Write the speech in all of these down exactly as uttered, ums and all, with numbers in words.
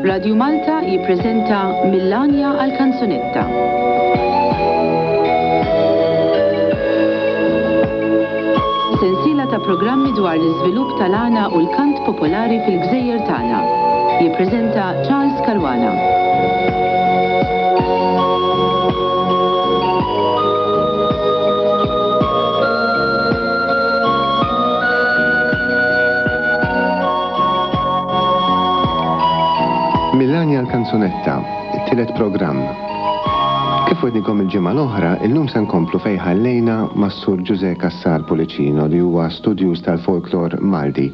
Radju Malta jippreżenta Mill-Għanja għal Kanzunetta. Sensiela ta' programmi dwar l-iżvilupp tal-għana u l-kant popolari fil-gżejjer tagħna. Jippreżenta Charles Caruana. Mill-Għanja l-Kanzunetta, it-tielet programm. Kif wegħednikom il-ġimgħa l-oħra, illum se nkomplu fejn ħallejna mas-Sur Ġuże Cassar Pullicino li huwa studjuż tal-folklor Malti.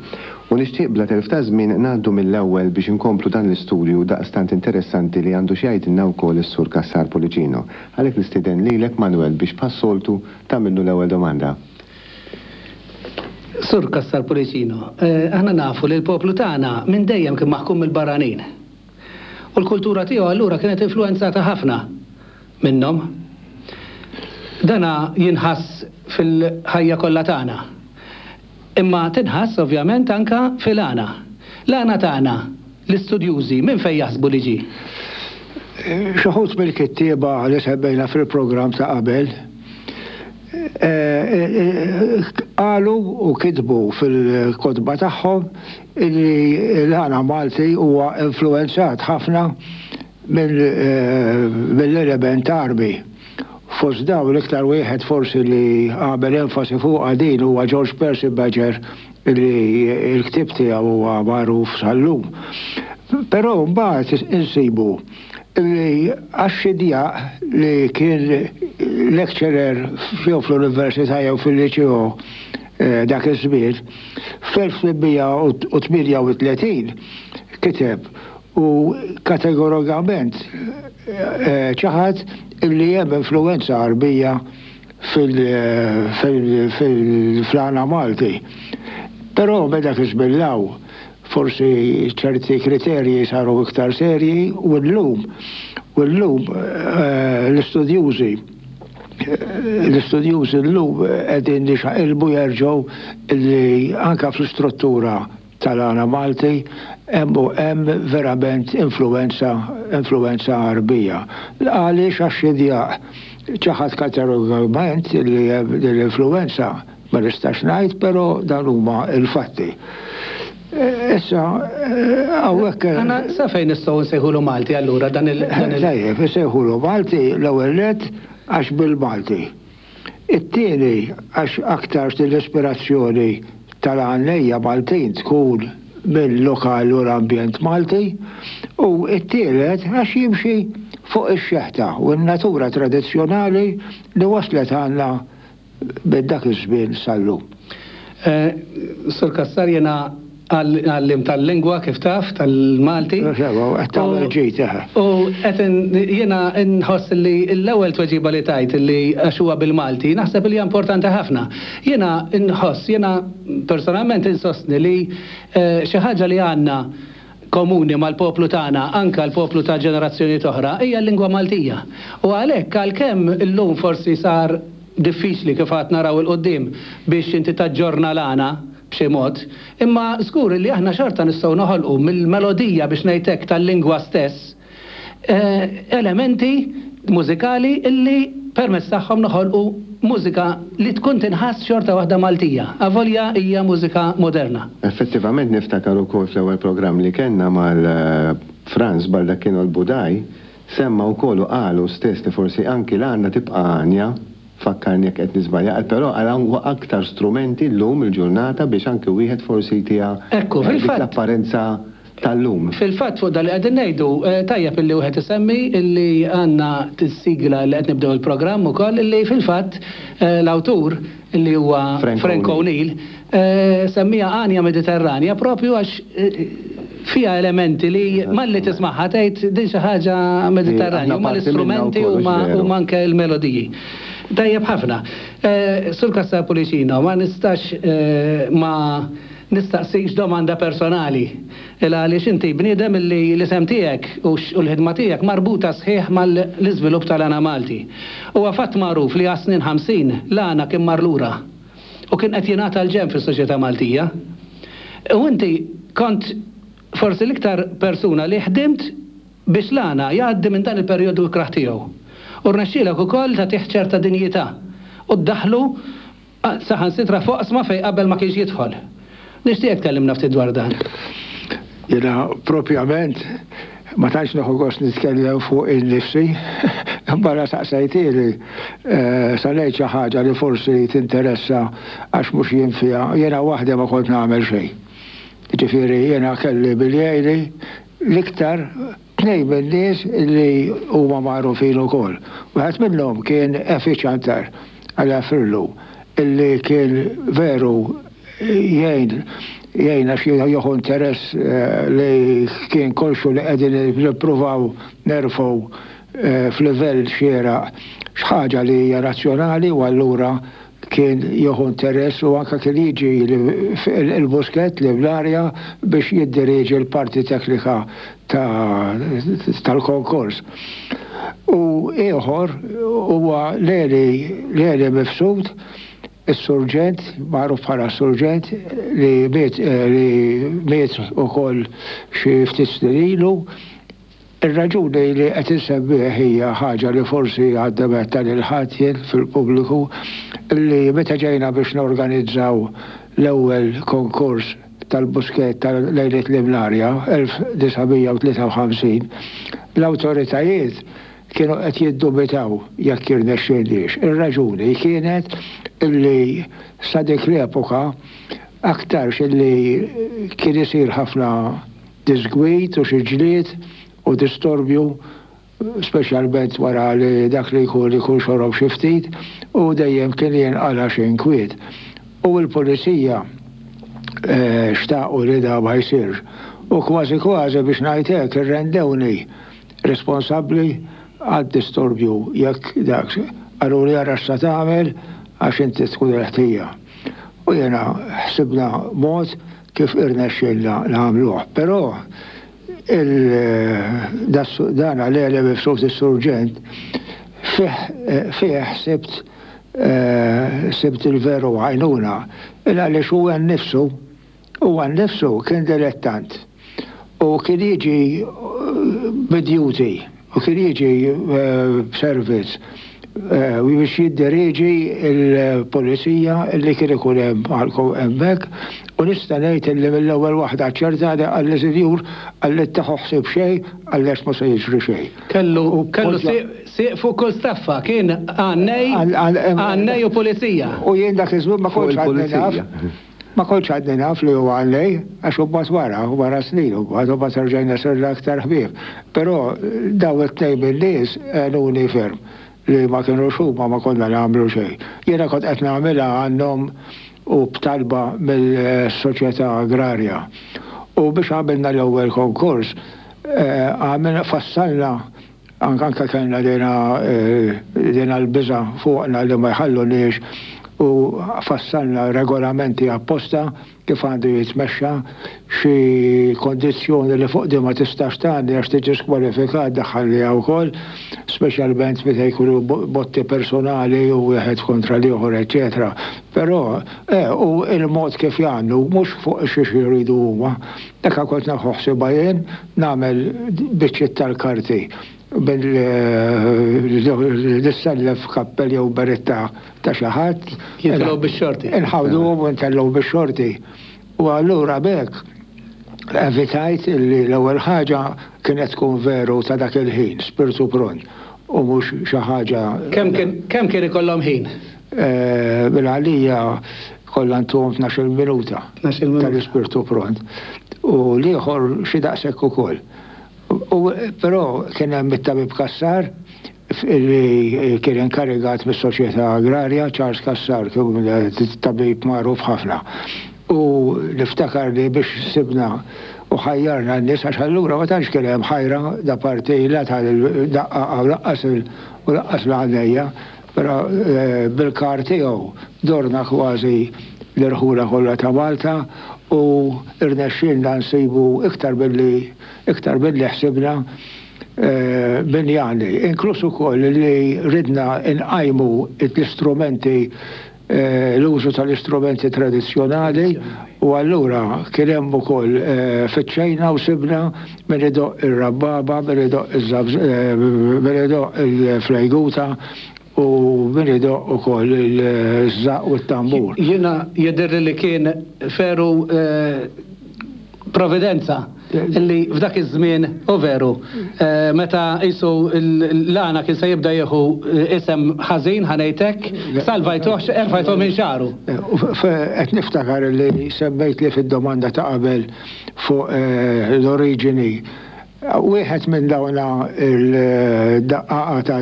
U nixtieq bla telf ta' żmien ngħaddu mill-ewwel biex inkomplu dan l-istudju daqstant interessanti li għandu xi jgħidilna wkoll is-Sur Cassar Pullicino. Għalhekk nistieden lilek Manuel biex bħas-soltu tagħmillu l-ewwel domanda. Sur Cassar Pullicino, eh, aħna nafu li l-poplu tagħna minn dejjem kien maħkum mill-barranin. U l-kultura tiegħu allura kienet influenzata ħafna minnhom. Dana jinħass fil-ħajja kollha tagħna. Imma tinħass ovvjament anka fil-għana. L-għana tagħna, l-istudjużi, minn fejn jaħsbu li ġie? Xi wħud mill-kittieba li semmejna fil-programm ta' qabel qalu u kitbu fil-kotba tagħhom li l-għana Malti huwa influenzat ħafna mill-element Għarbi. Fost dawn l-iktar wieħed forsi li għamel enfasi fuq din huwa George Percy Badger li l-ktieb tiegħu huwa magħruf sal-lum. Però mbagħad insibu li Għaxxidjaq li kien lecturer jew fl-Università jew fil-Liċeo dak iż-żmien, fl-elf tmien u tmienja u tletin kiteb u kategorikament ċaħad illi hemm influenza Għarbija fil-għana Malti. Però meta dak iż-żmien law forsi ċerti kriterji saru iktar serji u llum u llum l-istudjużi l-istudjużi llum qegħdin jixaqilbu jerġgħu li anka fl-istruttura tal-għana Malti hemm hemm verament influenza influenza Għarbija. Għaliex Għaxxidjaq ċaħad kategorikament li l-influenza ma nistax ngħid, però dan huma l-fatti. Issa, hawnhekk. Għana sa fejn nistgħu nsejħulu Malti allura dan il. Tajjeb, nsejħulu Malti l-ewwel nett għax bil-Malti. It-tieni għax aktar l-ispirazzjoni tal-għannejja Maltin tkun mill-lokal u l-ambjent Malti, u it-tielet għax jimxi fuq ix-xeħta u n-natura tradizzjonali li waslet għandna minn dak iż-żmien sal-lum. Sur Cassar, jiena għallim tal-lingwa kif taf, tal-Malti. Qed tagħmel ġid, eħe. U qed jiena nħoss li l-ewwel tweġiba li tajt li għax huwa bil-Malti, naħseb li hija importanti ħafna. Jiena nħoss, jiena personalment insostni li xi ħaġa li għandna komuni mal-poplu tagħna, anka l-poplu ta' ġenerazzjoni oħra, hija l-lingwa Maltija. U għalhekk għalkemm illum forsi sar diffiċli kif għad naraw il-qudiem biex inti taġġorna l-għana b'xi mod, imma żgur li aħna xorta nistgħu noħolqu mill-melodija biex ngħidlek tal-lingwa stess elementi mużikali illi permezz tagħhom noħolqu mużika li tkun tinħass xorta waħda Maltija, avolja hija mużika moderna. Effettivament niftakar ukoll fl-ewwel programm li kellna mal-Franz Baldacchino l-Budaj, semma wkoll u qalu stess li forsi anki l-għana tibqa' għanja, fakkarni jekk qed niżbalja, qal però għal hawn aktar strumenti llum il-ġurnata biex anki wieħed forsi jtiha Ekku, dik fil-fatt. l-apparenza tal-lum. Fil-fatt fuq dal li qegħdin ngħidu, tajjeb illi wieħed isemmi illi għandna tis-sigla li qed nibdew il-programm ukoll illi fil-fatt l-awtur illi huwa Frank Frank O'Neill. O'Neill semmija Għanja Mediterranja propju għax fija elementi li malli tismagħha tgħid din xi ħaġa Mediterranja, huma l-istrumenti huma huma anke l-melodiji. Tajjeb ħafna. Sur Cassar Pullicino, ma nistax ma nistaqsik domanda personali. Illa għaliex inti bniedem li l-isem tiegħek u l-ħidma tiegħek marbuta sħiħ mal-iżvilupp tal-għana Malti. Huwa fatt magħruf li għas-snin ħamsin l-għana kien mar lura u kien qed jingħata l-ġenb fis-soċjetà Maltija. U inti kont forsi l-iktar persuna li ħdimt biex l-għana jgħaddi minn dan il-perjodu ikrah tiegħu. U rnexxielek ukoll tagħtih ċerta dinjità u ddaħlu saħansitra f'oqsma fejn qabel ma kienx jidħol. Nixtieq tkellimna ftit dwar dan. Jiena propjament ma tantx nieħu gost nitkellem fuq innifsi, barra saqsejtieli sa ngħid xi ħaġa li forsi tinteressa għax mhux jien fiha, jiena waħdi ma kont nagħmel xejn. Ġifieri jiena kelli biljejli l-iktar tnejn min-nies li huma magħrufin ukoll. Wieħed minnhom kien Efi Ciantar għal Frillu, illi kien veru jgħin jgħin għax jieħu interess li kien konxu li qegħdin nippruvaw nerfgħu f'livell xieraq x'ħaġa li hija razzjonali, u allura kien jieħu interess u anke kien jiġi il-Buskett li bl-arja biex jiddirieġi l-parti teknika tal-konkors. U ieħor huwa Leli Leli Mifsud, is-surġent, magħruf bħala surġent, li miet li miet ukoll xi ftit snin ilu. Ir-raġuni li qed insemmih hija ħaġa li forsi għadda meta lil ħadd jien fil-pubbliku, li meta ġejna biex norganizzaw l-ewwel konkors tal-Buskett tal-Lejliet l-Imnarja elf disa' mija u tlieta u ħamsin, l-awtoritajiet kienu qed jiddubitaw jekk jirnexxielniex. Ir-raġuni kienet illi sa dik l-epoka aktarx illi kien isir ħafna disgwid u xi ġlied u distorbju, speċjalment wara li dak li jkun ikun xorob xi ftit, u dejjem kien jinqala xi inkwiet. U l-pulizija xtaqu li da ma jsirx. U kważi kważi biex ngħid hekk irrendewni responsabbli għad-distorbju jekk dak qalu li ara x'sa tagħmel għax inti tkun il-ħtija. U jiena ħsibna mod kif irnexxielna nagħmluh. Però dan għalli mifsud is-surġent fih sibt sibt il-veru għajnuna, il għaliex huwa nnifsu, huwa nnifsu kien dilettant u kien jiġi bidjuti u kien jiġi b'servizz u biex jidderieġi l-pulizija li kien ikun hemm hemmhekk, u nista' ngħid li mill-ewwel waħda ċerta li qalli sinjur qalli tieħu ħsieb xejn għaliex ma se jiġri xejn. Kellu kellu sieq fuq kull staffa, kien għannej għannej u pulizija. U jien dak iż-żmien ma kontx għadni naf. Ma kontx għadni naf li huwa għannej, għax hu mbagħad wara, wara snin, u mbagħad mbagħad rġajna sirna aktar ħbieb. Però daw it-tnejn min-nies għenuni ferm li ma kienux huma ma konna nagħmlu xejn. Jiena kont qed nagħmilha għandhom u b'talba mill-soċjetà agrarja. U biex għamilna l-ewwel konkors, għamilna fassalna anke kellna dina l-biża' fuqna li ma jħalluniex, u fassalna regolamenti apposta kif għandu jitmexxa, xi kondizzjoni li fuq di ma tistax tgħaddi għax tiġi skwalifikat daħħalniha wkoll, speċjalment meta jkunu botti personali u wieħed kontra l-ieħor, eċċetera. Però u il-mod kif jagħmlu mhux fuq xi jridu huma. Dak kont nieħu ħsiebha jien nagħmel biċċiet tal-karti bil-nissellef kappell jew beretta ta' xi ħadd. Jitilgħu bix-xorti. Inħawduhom u ntellgħu bix-xorti. U allura b'hekk evitajt li l-ewwel ħaġa kienet tkun veru ta' dak il-ħin, spirtu pront, u mhux xi ħaġa. Kemm kien ikollhom ħin? Bil-għalija kollha ntuhom tnax-il minuta tal-ispirtu pront. U l-ieħor xi daqshekk ukoll. U però kien hemm it-tabib Cassar li kien inkarigat mis-soċjetà agrarja, Charles Cassar, kien tabib magħruf ħafna. U niftakar li biex sibna u ħajjarna n-nies, għax allura ma tantx kien hemm ħajra da parti la tal-daqqa u laqqas u laqqas l-għannejja, però bil-kar tiegħu dorna kważi l-irħula kollha ta' Malta u irnexxielna nsibu iktar billi iktar billi ħsibna min jagħni, inkluż ukoll li ridna nqajmu l-istrumenti, l-użu tal-istrumenti tradizzjonali, u allura kien hemm ukoll fittxejna u sibna min idoqq ir-rabbaba, min idoqq min idoqq il-flejguta u min idoqq ukoll iż-żaqq u t-tambur. Jiena jidhirli li kien veru providenza li f'dak iż-żmien, u veru, meta qisu l-għana kien se jibda jieħu isem ħażin ħa ngħidlek, salvajtuh, erfajtuh minn xagħru. Qed niftakar li semmejt li fid-domanda ta' qabel fuq l-oriġini. Wieħed minn dawna il-daqqaqa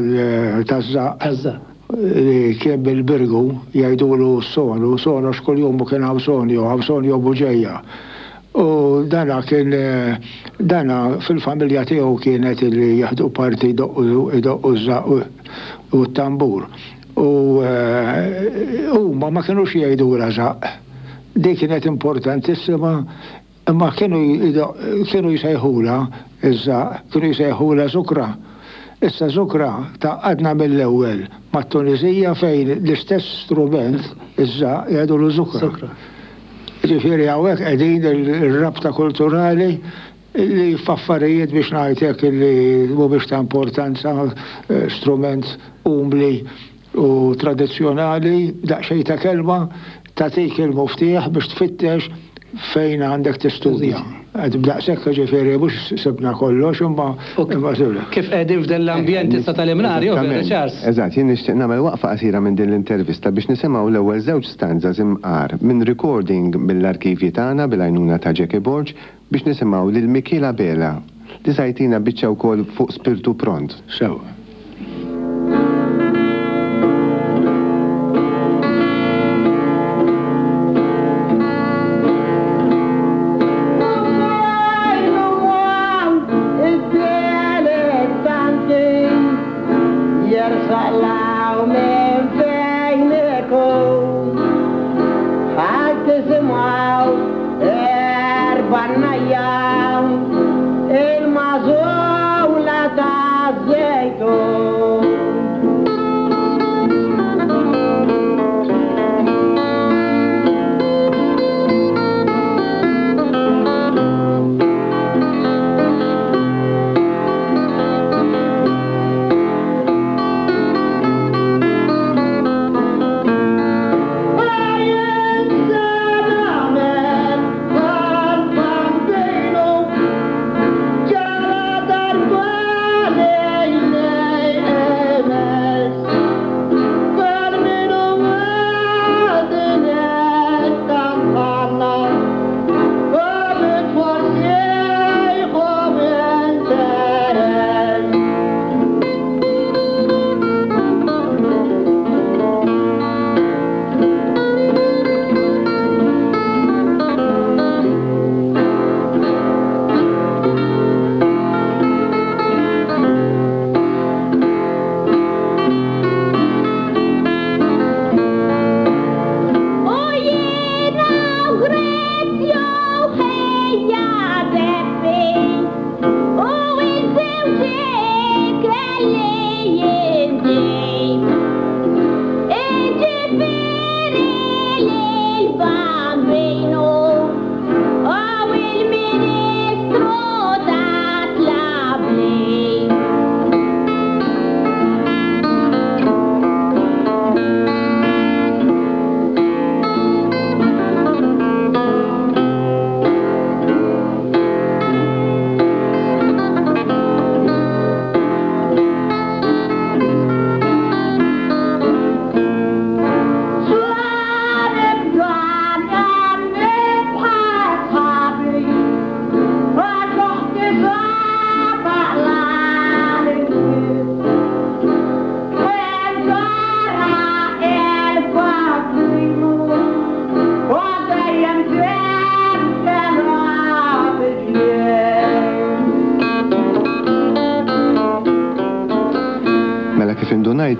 taż-żaqq li kien bil-Birgu jgħidulu sonu, sonu x'kuljum kien hawn Sonio, hawn Sonio Buġeja. U dana kien, dana fil-familja tiegħu kienet li jaħdu parti idoqqu ż-żaqq u t-tambur. U huma ma kinux jgħidulha żaqq. Dik kienet importantissima, imma kienu kienu jsejħulha iż-żaqq, kienu jsejħulha żukra. Issa żukra tgħaqqadna mill-ewwel mat-Tunisija fejn l-istess strument iż-żaqq jgħidulu żukra. Ġifieri hawnhekk qegħdin ir-rabta kulturali li f'affarijiet biex ngħidlek li mhumiex ta' importanza, strument umli u tradizzjonali, daqsxejn ta' kelma tagħtik il-muftieħ biex tfittex fejn għandek tistudja. B'daqshekk ġifieri mhux sibna kollox imma imma sibna. Kif qegħdin f'dan l-ambjent issa tal-Imnarja, jew veru Charles? Eżatt, jien nixtieq nagħmel waqfa qasira minn din l-intervista biex nisimgħu l-ewwel żewġ stanzas imqar minn recording mill-arkivji tagħna bil-għajnuna ta' Jackie Borg biex nisimgħu lil Mikiel Abela li sajtina biċċa wkoll fuq Spirtu Pront. Sewa.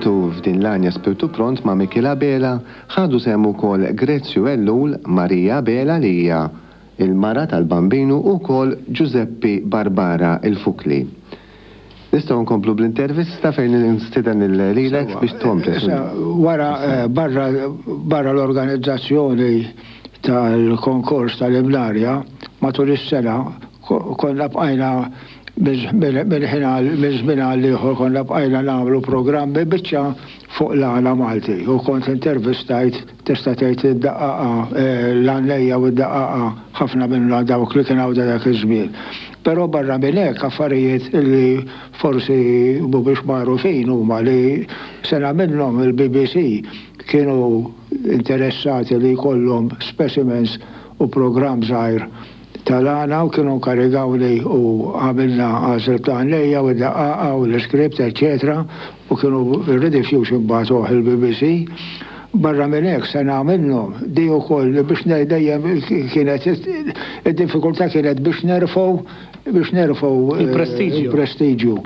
F'din l-għanja Spirtu Pront ma' Mikiel Abela ħadu sehem ukoll Grezzju Ellul, Marija Abela li hija il-mara tal-Bambinu u wkoll Giuseppe Barbara il-Fukli. Nistgħu nkomplu bl-intervista fejn nistieden lilek biex tkompli. Wara eh, barra barra l-organizzazzjoni tal-konkors tal-Imnarja matul is-sena konna bqajna minn żmien għal ieħor konna bqajna nagħmlu programmi biċċa fuq l-għana Malti u kont intervistajt tista' tgħid id-daqqaqa eh, l-għannejja u d-daqqaqa ħafna minnha dawk li kien hawn dak iż-żmien. Però barra minn hekk affarijiet li forsi mhumiex magħrufin huma li sena minnhom il-B B C kienu interessati li jkollhom specimens u programm żgħir tal-għana u kienu karigawni u għamilna għażel ta' lejja u daqqaqa u l-script, eccetera, u kienu r-rediffusion imbagħad il-B B C. Barra minn hekk sena minnhom di wkoll biex dejjem kienet id-diffikultà kienet biex nerfgħu biex nerfgħu il-prestiġju. Il-prestiġju.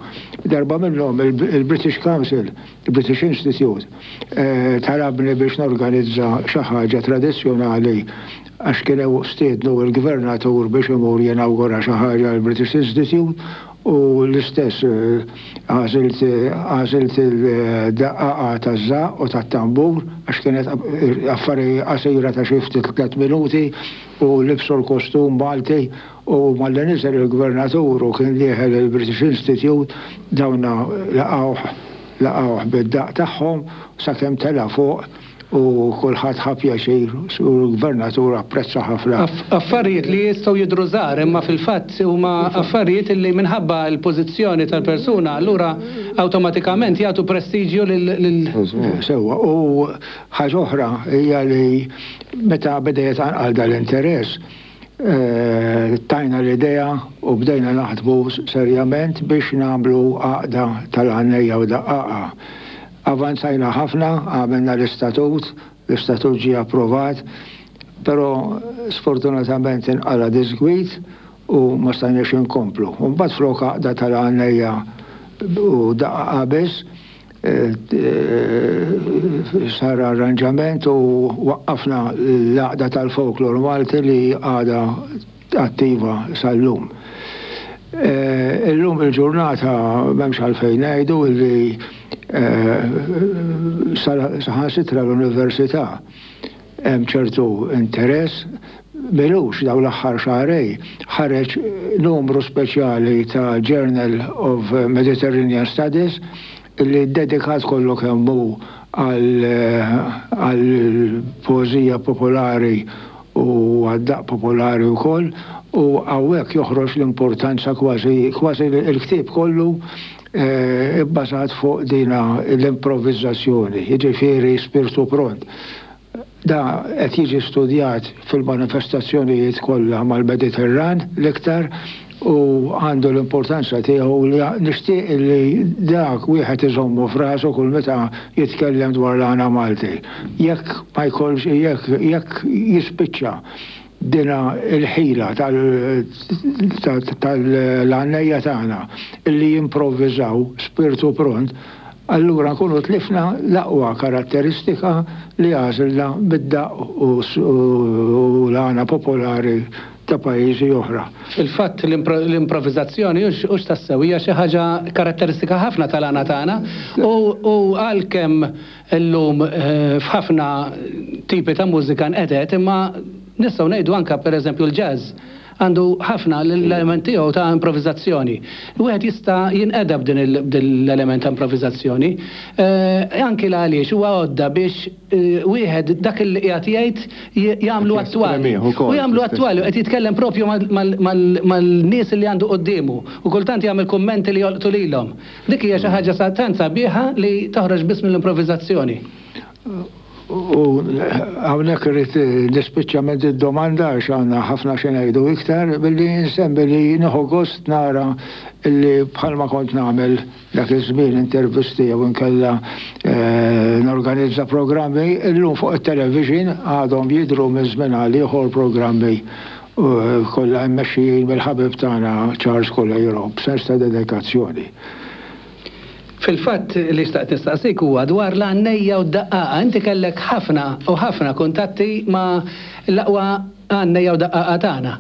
Darba minnhom il-British Council, il-British Institute, eh, talabni biex norganizza xi ħaġa tradizzjonali għax kienu stiednu il-gvernatur biex imur jinawgura xi ħaġa l-British Institute u l-istess eh, għażilt għażilt il-daqqaqa taż-żaqq u tat-tambur għax kienet affari qasira ta' xi ftit tliet minuti u libsu l-kostum Malti u malli niżel il-gvernatur u kien dieħel il-British Institute dawna laqgħuh laqgħuh bid-daq tagħhom sakemm tela' fuq u kulħadd ħa pjaċir u l-gvernatur apprezza ħafna. Affarijiet li jistgħu jidhru żgħar imma fil-fatt huma affarijiet li minħabba l-pożizzjoni tal-persuna allura awtomatikament jagħtu prestiġju lil Sewwa, u ħaġa oħra hija li meta beda jitqanqal dal-interess, eh, tajna l-idea u bdejna naħdmu serjament biex nagħmlu għaqda tal-għannejja u daqqaqa. Avanzajna ħafna, għamilna l-istatut, l-istatut ġie approvat, però sfortunatament inqala disgwit u ma stajniex inkomplu. Mbagħad flok għaqda tal-għannejja u daqqaqa biss, eh, eh, sar arranġament u waqqafna l-għaqda tal-folklor Malti li għada attiva sal-lum. Eh, Illum il-ġurnata m'hemmx għalfejn ngħidu li saħansitra l-università hemm ċertu interess. M'ilux daw l-aħħar xahrejn ħareġ numru speċjali ta' Journal of Mediterranean Studies li dedikat kollu kemm hu għal poeżija popolari u għad-daq popolari wkoll u hawnhekk joħroġ l-importanza kważi kważi il-ktieb kollu eh, ibbażat fuq dina l-improvvizzazzjoni, jiġifieri spirtu pront. Da qed jiġi studjat fil-manifestazzjonijiet kollha mal-Mediterran l-iktar u għandu l-importanza tiegħu li nixtieq li dak wieħed iżommu f'rasu kull meta jitkellem dwar l-għana Malti. Jekk ma jkollx jekk jekk jispiċċa dina il-ħila tal-għannejja tagħna illi jimprovviżaw spirtu pront, allura nkunu tlifna l-aqwa karatteristika li għażilna bid-daq u l-għana popolari ta' pajjiżi oħra. Il-fatt l-improvvizazzjoni hux tassew hija xi ħaġa karatteristika ħafna tal-għana tagħna u għalkemm illum eh, f'ħafna tipi ta' mużika nqedet, imma nistgħu ngħidu anke pereżempju l-jazz għandu ħafna l-element tiegħu ta' improvvizazzjoni. Wieħed jista' jinqeda b'din l-element ta' improvvizazzjoni. Eh, anki l għaliex huwa għodda biex eh, wieħed dak li qiegħed jgħid jagħmlu attwali. U jagħmlu attwali qed jitkellem propju mal-nies li għandu quddiemu u kultant jagħmel kummenti li jolqtu lilhom. Dik hija xi ħaġa tant sabiħa li toħroġ biss mill-improvvizazzjoni. U hawnhekk irrid nispiċċament id-domanda għax għandna ħafna xi ngħidu iktar billi nsemmi li nieħu gost nara illi bħalma kont nagħmel dak iż-żmien intervisti jew inkella eh, norganizza programmi, illum fuq it-television għadhom jidhru minn żmien għal ieħor programmi eh, kollha mmexxijin mill-ħabib tagħna Charles Coleiro b'sens ta' dedikazzjoni. Fil-fatt li xtaqt nistaqsik huwa dwar l-għannejja u d-daqqaqa. Inti kellek ħafna u ħafna kuntatti ma' l-aqwa għannejja u daqqaqa tagħna.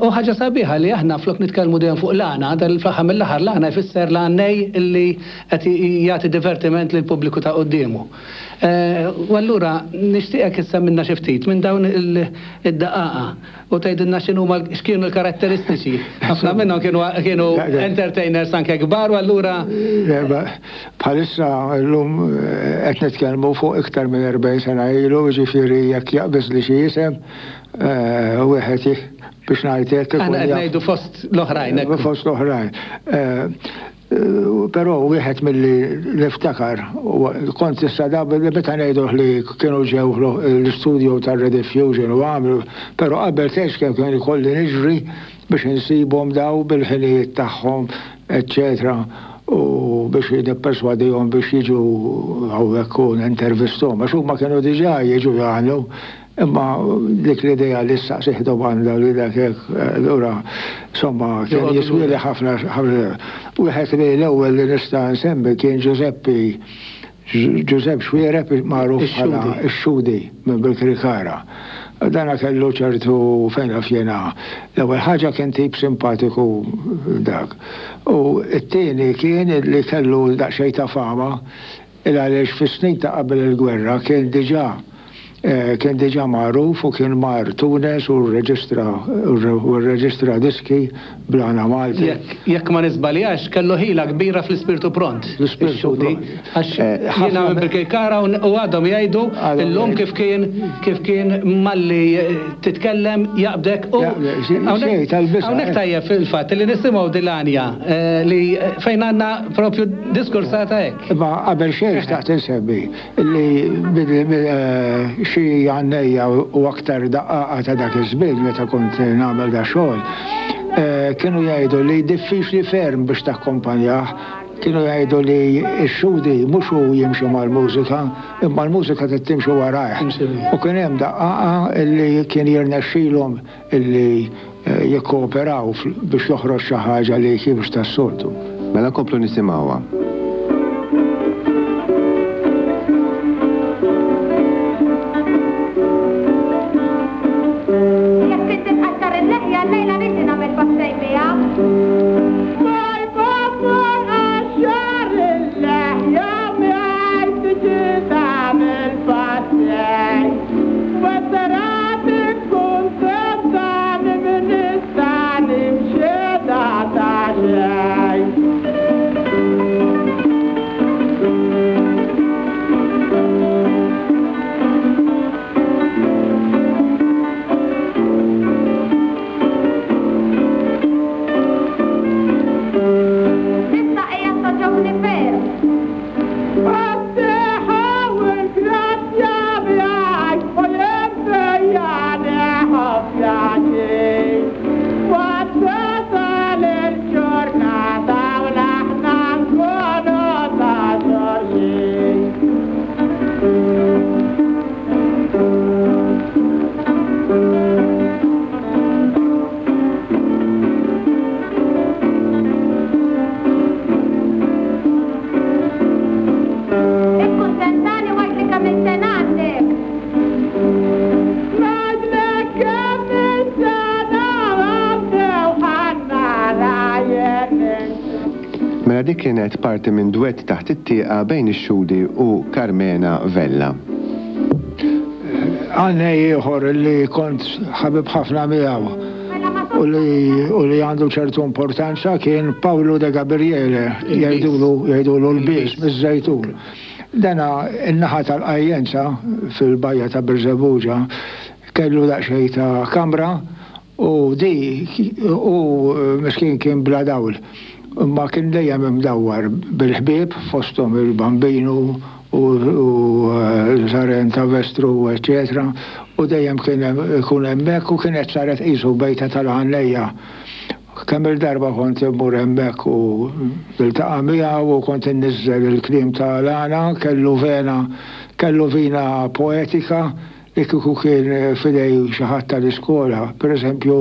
U ħaġa sabiħa li aħna flok nitkellmu dejjem fuq l-għana, dal-fl-aħħar mill-aħħar l-għana jfisser l-għannej illi qed jagħti divertiment lill-pubbliku ta' quddiemu. U allura nixtieqek issa minna xi ftit minn dawn id-daqqaqa u tgħidilna x'inhuma x'kienu l-karatteristiċi. Ħafna minnhom kienu kienu entertainers anke kbar u allura bħalissa llum qed nitkellmu fuq iktar minn erbgħin sena ilu, jiġifieri jekk jaqbeż li xi isem wieħed biex ngħid hekk. Aħna qed ngħidu fost l-oħrajn. Fost l-oħrajn. Però wieħed milli niftakar, kont issa da meta ngħidu li kienu ġew l-istudio tar-Rediffusion u għamlu, però qabel tgħix kemm kien ikolli niġri biex insibhom daw bil-ħinijiet tagħhom, eċċetera, u biex nipperswadihom biex jiġu hawnhekk u nintervisthom, għax huma kienu diġà jiġu jagħmlu. Imma dik l-idea li ssaqsih domanda li dak hekk, allura insomma kien jiswieli ħafna. Wieħed li l-ewwel li nista' nsemmi kien Giuseppi Giuseppe Xuereb, magħruf bħala x-Xudi minn Birkirkara. Dana kellu ċertu fejn naf jiena. L-ewwel ħaġa kien tip simpatiku dak. U t-tieni kien li kellu daqsxejn ta' fama il għaliex fis-snin ta' qabel il-gwerra kien diġà kien diġà magħruf u kien mar Tunes u rreġistra u rreġistra diski bl-għana Malti. Jekk ma niżbaljax kellu ħila kbira fl-ispirtu pront. L-ispirtu pront. Għax jiena minn Birkirkara u għadhom jgħidu illum kif kien kif kien malli titkellem jaqbdek u hawnhekk tajjeb fil-fatt li nisimgħu dil-għanja li fejn għandna propju diskursata hekk. Imma qabel xejn xtaqt insemmi li xi għannejja u aktar daqqaqa ta' dak iż-żmien meta kont nagħmel da xogħol, kienu jgħidu li diffiċli ferm biex takkompanjah, kienu jgħidu li x-xudi mhux hu jimxi mal-mużika, imma l-mużika trid timxi warajh. U kien hemm daqqaqa li kien jirnexxilhom illi jikkooperaw biex joħroġ xi ħaġa li mhux tas-soltu. Mela nkomplu nisimgħuha. Dik kienet parti minn duett taħt it-tieqa bejn ix-Xudi u Carmena Vella. Għannej ieħor li kont ħabib ħafna miegħu u li għandu ċertu importanza kien Paolo de Gabriele, jgħidulu jgħidulu l-Bies miż-Żejtun. Dana in-naħa tal-Qajjenza fil-bajja ta' Birżebbuġa kellu daqsxejn ta' kamra u di u miskin kien bla dawl. Imma kien dejjem imdawwar bil-ħbieb fosthom il-Bambinu u l-Saren ta' Vestru, eċċetera, u dejjem kien ikun hemmhekk u kienet saret qisu bejta tal-għannejja. Kemm il-darba kont immur hemmhekk u niltaqa' miegħu u kont inniżżel il-kliem tal-għana, kellu vena, kellu vina poetika li kieku kien fidej xi ħadd tal-iskola. Pereżempju,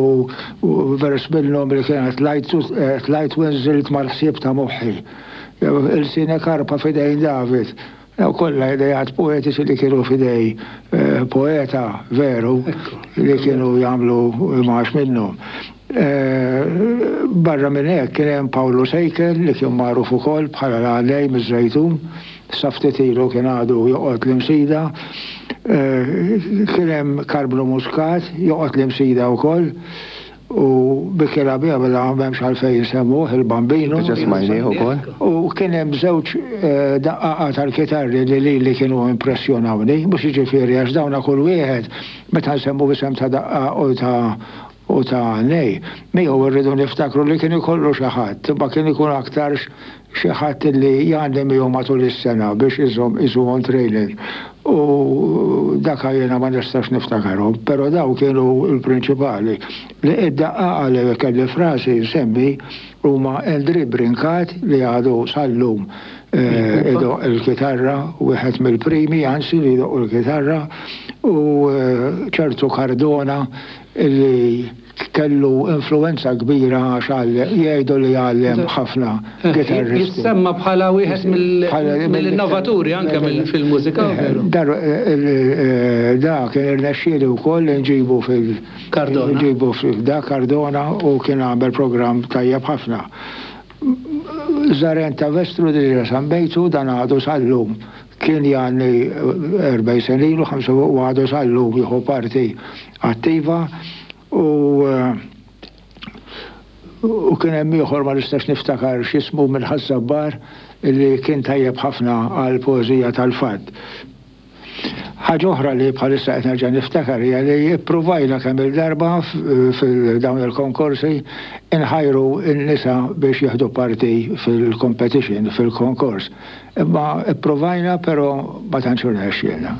vers minnhom li kienet tlajt u nżilt mal-ħsieb ta' moħħi. Il-sine karpa fidejn David, Daw kollha idejat poetiċi li kienu f'idej eh, poeta veru li kienu jagħmlu imax minnhom. Eh, barra minn hekk kien hemm Paolo Sejkel li kien magħruf ukoll bħala l-għalej miż-Żejtun, sa ftit ilu kien għadu joqgħod l-Imsida. Eh, kien hemm Karblu Muscat joqgħod l-Imsida wkoll u bikela bija bla m'hemmx għalfejn nsemmuh il-Bambino. Diġà smajnieh ukoll. U kien hemm żewġ eh, daqqaqa tal-kitarri li li li kienu impressjonawni, mhux jiġifieri għax dawna kull wieħed meta nsemmu isem ta' daqqa u ta' u ta' nej. Miegħu rridu niftakru li kien ikollu xi ħadd, imma kien ikun aktarx xi ħadd li jgħanni miegħu matul is-sena biex iżomm iżuhom training. U dak jiena ma nistax niftakarhom, però daw kienu l-prinċipali. Li id-daqqaqa li kelli frasi nsemmi huma Andri Brincat li għadu sal-lum eh, idoq il-kitarra, wieħed mill-primi anzi li jdoq il-kitarra, u eh, ċertu Cardona li kellu influenza kbira għax għallem, jgħidu li għallem ħafna kitarristi. Jissemma bħala wieħed mill- Bħala- mill-innovaturi anke mill- fil-mużika, Eh, veru? Dar, eh, eh, da kien irnexxieli wkoll nġibu fil- Cardona. Nġibu fil da Cardona u kien għamel programm tajjeb ħafna. Zaren ta' Vestru diġa sambejtu dan għadu sal-lum. Kien jgħanni erbgħin sena ilu, ħamsa u għadu sal-lum jieħu parti attiva u, eh, u kien hemm ieħor ma nistax niftakar x'ismu minn Ħaż-Żabbar li kien tajjeb ħafna għal poeżija tal-fatt. Ħaġa oħra li bħalissa qed nerġa' niftakar hija li pprovajna kemm il-darba fil-dawn il-konkorsi inħajru n-nisa biex jieħdu parti fil-competition, fil-konkors. Imma pprovajna però ma tantx irnexxielna.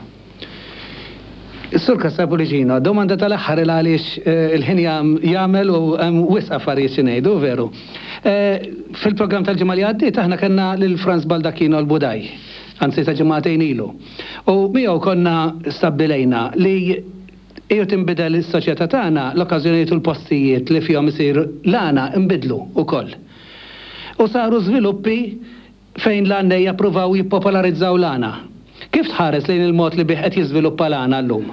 Is-Sur Cassar Pullicino, domanda tal-aħħar il għaliex, eh, il-ħin jam-, jagħmel u hemm wisq affarijiet xi ngħidu, veru. Eh, fil-programm tal-ġimgħa li għaddiet aħna kellna lil Franz Baldacchino l-Budaj, anzi ta' ġimgħatejn ilu. U miegħu konna stabbilejna li iju tinbidel is-soċjetà tagħna, l-okkażjonijiet u l-postijiet li fihom isir l-għana nbidlu wkoll. U saru żviluppi fejn l-għannejja pruvaw jippopolarizzaw l-għana. Kif tħares lejn il-mod li bih qed jiżviluppa l-għana llum?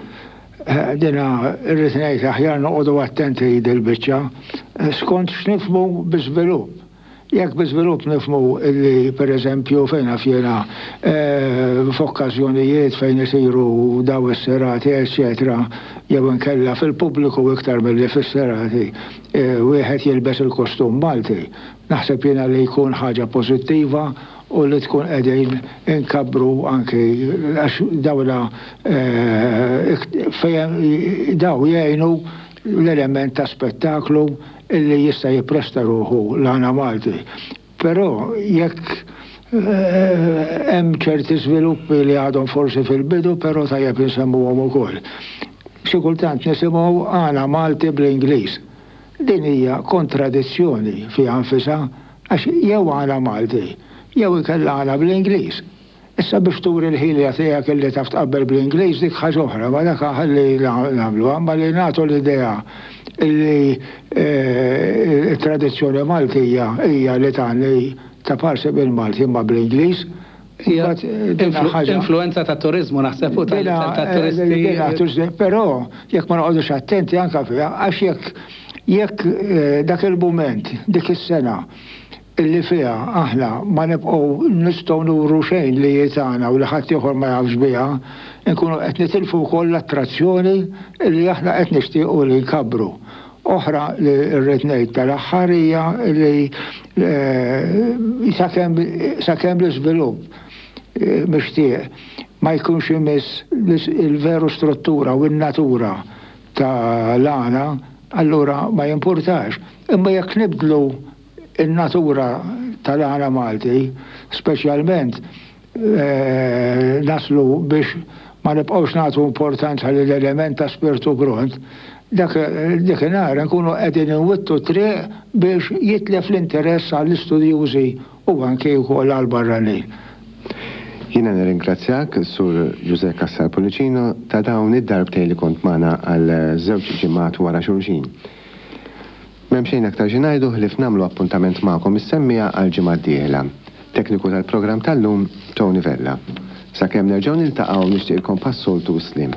Eh, dina irrid ngħid aħjar noqogħdu attenti dil-biċċa, eh, skont x'nifhmu bi żvilupp. Jekk bi żvilupp nifhmu li pereżempju fejn naf jiena, eh, f'okkażjonijiet fejn isiru daw is-serati, eċċetera, jew inkella fil-pubbliku iktar milli fis-serati, eh, wieħed jilbes il-kostum Malti. Naħseb jiena li jkun ħaġa pożittiva u li tkun qegħdin inkabbru anki għax dawla, eh, fejn daw jgħinu l-element ta' spettaklu illi jista' jippresta ruħu l-għana Malti. Però jekk, eh, hemm ċerti żviluppi li għadhom forsi fil-bidu, però tajjeb insemmuhom ukoll. Xi kultant nisimgħu għana Malti bl-Ingliż. Din hija kontradizzjoni fiha nfisha għax jew għana Malti, jew inkella għana bl-Ingliż. Issa biex turi l-ħilja tiegħek illi taf tqabbel bl-Ingliż dik ħaġa oħra, ma dak ħalli nagħmluha, ma li nagħtu l-idea li, eh, it-tradizzjoni Maltija hija li tagħni ta' parsi bil-Malti imma bl-Ingliż. Hija Mbagħad, eh, din influ- ħaġa influenza ta' turizmu naħseb u tal- Dina, ta' turisti. dina turisti, però jekk ma noqogħdux attenti anke fiha, għax jekk, jekk, eh, dak il-mument, dik is-sena illi fiha aħna ma nibqgħu nistgħu nuru xejn li tagħna u li ħadd ieħor ma jafx biha, nkunu qed nitilfu wkoll l-attrazzjoni li aħna qed nixtiequ li nkabbru. Oħra li rrid ngħid tal-aħħar hija li, eh, sakemm, sakemm l-iżvilupp, eh, mixtieq ma jkunx imiss il-veru struttura u n-natura tal-għana, allura ma jimpurtax. Imma jekk nibdlu in-natura tal-għana Malti, speċjalment, eh, naslu biex ma nibqgħux nagħtu importanza lill-element ta' spirtu gront, dak, dak inħar nkunu qegħdin inwittu triq biex jitlef l-interess għall-istudjużi u anke wkoll għall-barranin. Jiena nirringrazzjak, Sur Ġużè Cassar Pullicino, ta' dawn id-darbtejn li kont magħna għal żewġ ġimgħat wara xulxin. M'hemm xejn aktar xi ngħidu ħlief nagħmlu appuntament magħkom is-semmiegħa għal ġimgħa d-dieħla. Tekniku tal-programm tal-lum, Tony Vella. Sakemm nerġgħu niltaqgħu nixtieqilkom bħas-soltu sliem.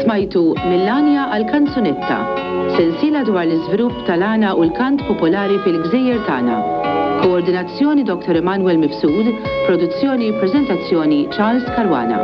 Smajtu Mill-Għanja għall-Kanzunetta, sensiela dwar l-iżvilupp tal-għana u l-kant popolari fil-gżejjer tagħna. Koordinazzjoni Dottor Emanuel Mifsud, produzzjoni prezentazzjoni Charles Caruana.